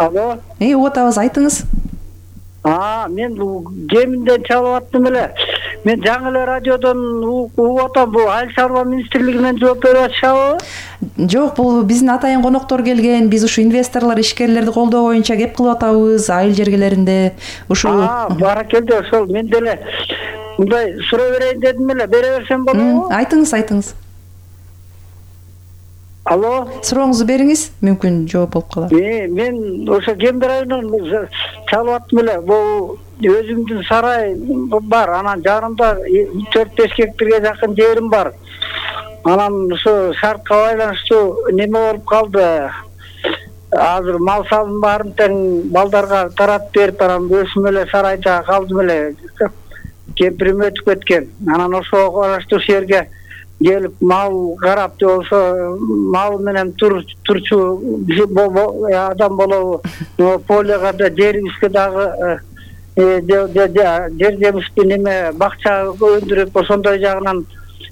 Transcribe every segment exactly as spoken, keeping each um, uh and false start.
Алло. Эй, угуп атабыз, айтыңыз. А, мен кеминден чалып аттым эле. Мен жаңы эле радиодон угуп атам. Бул Айыл чарба министрлигинен жооп берип атышабы? Жок, бул биздин атайын коноктор келген. Биз ушу инвесторлор, ишкерлерди колдоо боюнча кеп кылып атабыз айыл жергелеринде. Ушул. А, баракелде, ошол мен деле мындай сурай берейин дедим эле. Бере берсем болобу? Айтыңыз, айтыңыз. Алло. Сурооңузду бериңиз, мүмкүн жооп болуп калар. Э, мен ошо Кембир районунан чалып аттым эле. Бул өзүмдүн сарай бар, анан жанымда төрт беш гектарга жакын жерим бар. Анан ушу шартка байланыштуу неме болуп калды. Азыр мал салым баарын тең балдарга таратып берип, анан өзүм эле сарайда калдым эле. Кемпирим өтүп кеткен. Анан ошого караштуу жерге келип мал карап, же болбосо мал менен турчу адам болобу, полияга да жерибизге дагы жер жемишти неме бакча өндүрүп, ошондой жагынан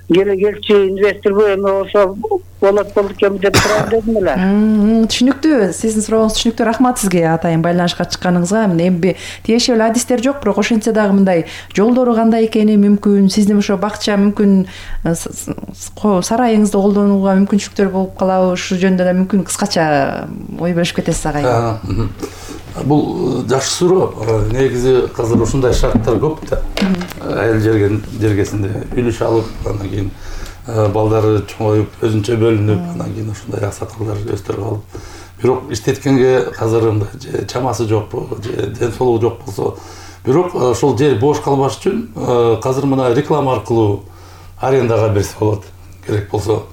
келчү инвесторбу эме болсо болот болот экен деп сурайм дедим эле. Түшүнүктүү. Сиздин сурооңуз түшүнүктүү. Рахмат сизге атайын байланышка чыкканыңызга. Эми тиешелүү адистер жок, бирок ошентсе дагы мындай жолдору кандай экени мүмкүн, сиздин ошо бакча мүмкүн сарайыңызды колдонууга мүмкүнчүлүктөр болуп калабы, ушул жөнүндө да мүмкүн кыскача ой бөлүшүп кетесиз агайын. Бул жакшы суроо. Негизи азыр ушундай шарттар көп да. Айыл жергесинде үлүш алып, анан кийин балдары чоңоюп, өзүнчө бөлүнүп, анан кийин ушундай аксакалдар өстөрүп алып. Бирок иштеткенге азыр мындай чамасы жокпу, же ден соолугу жок болсо, бирок ошол жер бош калбаш үчүн азыр мына реклама аркылуу арендага берсе болот. Керек болсо,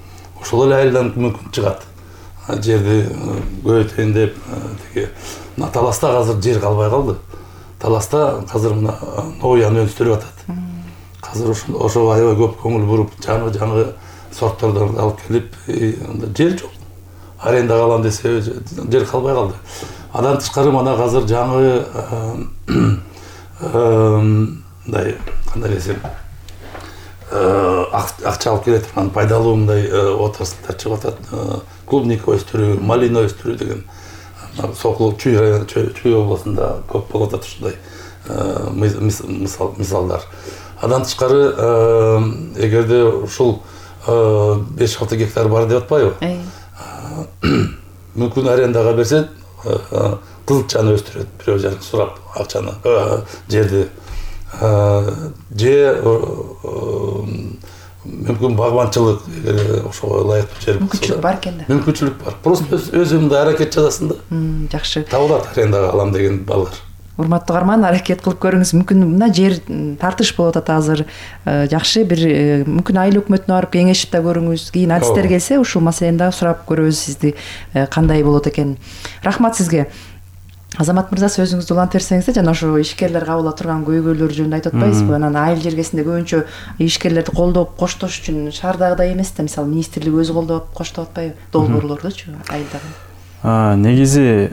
ошол эле айылдан мүмкүн чыгат. Жерди көбөйтөйүн деп, тиги мына Таласта азыр жер калбай калды. Таласта азыр мына ноян өстүрүп атат. Азыр ошо аябай көп көңүл буруп, жаңы-жаңы сорттордон алып келип, жер жок. Арендага алам десе, жер калбай калды. Андан тышкары мына азыр жаңы мындай кандай десем, акча алып келе турган пайдалуу мындай отраслдар чыгып атат. Клубника өстүрүү, малина өстүрүү деген Сокул Чүй району, Чүй областында көп болуп атат ушундай мисалдар. Андан тышкары, эгерде ушул беш алты гектар бар деп атпайбы? Мүмкүн арендага берсе, кызылчаны өстүрөт, бирөө жарым сурап акчаны, жерди. Же мүмкүн багбанчылык, ошого ылайыктуу жер болсо. Мүмкүнчүлүк бар экен да. Мүмкүнчүлүк бар. Просто өзүмдү аракет жасасын да. Жакшы. Табылат арендага алам деген балдар. Урматтуу угарман, аракет кылып көрүңүз. Мүмкүн мына жер тартыш болуп атат азыр. Жакшы бир мүмкүн айыл өкмөтүнө барып кеңешип да көрүңүз. Кийин адистер келсе, ушул маселени дагы сурап көрөбүз сизди кандай болот экен. Рахмат сизге. Азамат мырза, сөзүңүздү улант берсеңиз, жана ошо ишкерлер кабыл ала турган көйгөйлөр жөнүндө айтып атпайсызбы? Анан айыл жергесинде көбүнчө ишкерлерди колдоп коштош үчүн шаардагыдай эмес да, мисалы министрлик өзү колдоп коштоп атпайбы? Долбоорлордучу айылдагы. Негизи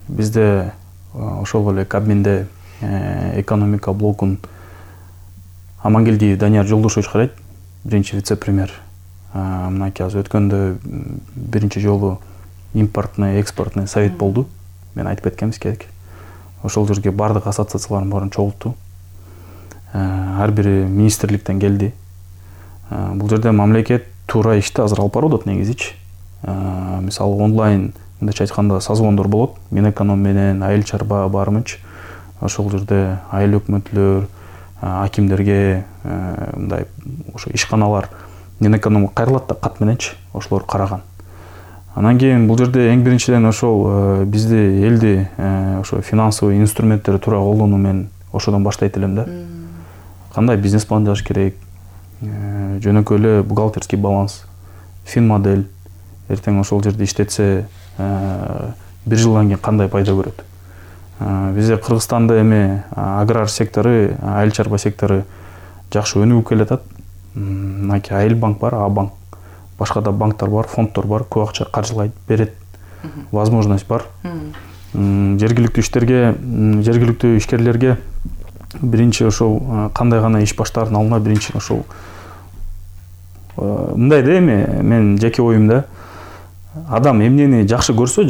бизде ошол эле Кабминде экономика блокун Амангелдиев Данияр Жолдошевич карайт, биринчи вице-премьер. Мынакей азыр өткөндө биринчи жолу импортный, экспортный совет болду. Мен айтып кеткенбиз керек. Ошол жерге бардык ассоциациялардын баарын чогултту. Ар бири министрликтен келди. Бул жерде мамлекет туура ишти азыр алып барып атат негизичи. Мисалы онлайн мындайча айтканда созвондор болот. Минэконом менен айыл чарба барымыч. Ошол жерде айыл өкмөтлөр, акимдерге мындай ошо ишканалар Минэкономго кайрылат да кат мененчи, ошолор караган. Анан кийин бул жерде эң биринчиден ошол бизди элди ошо финансовый инструменттер туура колдонуу менен ошодон баштайт элем да. Кандай бизнес план жазыш керек, жөнөкөй эле бухгалтерский баланс, фин модель, эртең ошол жерде иштетсе бир жылдан кийин кандай пайда көрөт. Бизде Кыргызстанда эми аграр сектору, айыл чарба сектору жакшы өнүгүп келатат. Мынакей Айыл банк бар, А банк. Башка да банктар бар, фонддор бар, көп акча каржылайт, берет. Возможность бар. Жергиликтүү иштерге, жергиликтүү ишкерлерге биринчи ошол кандай гана иш баштаардын алдына биринчи ошол мындай да эми мен жеке оюмда адам эмнени жакшы көрсө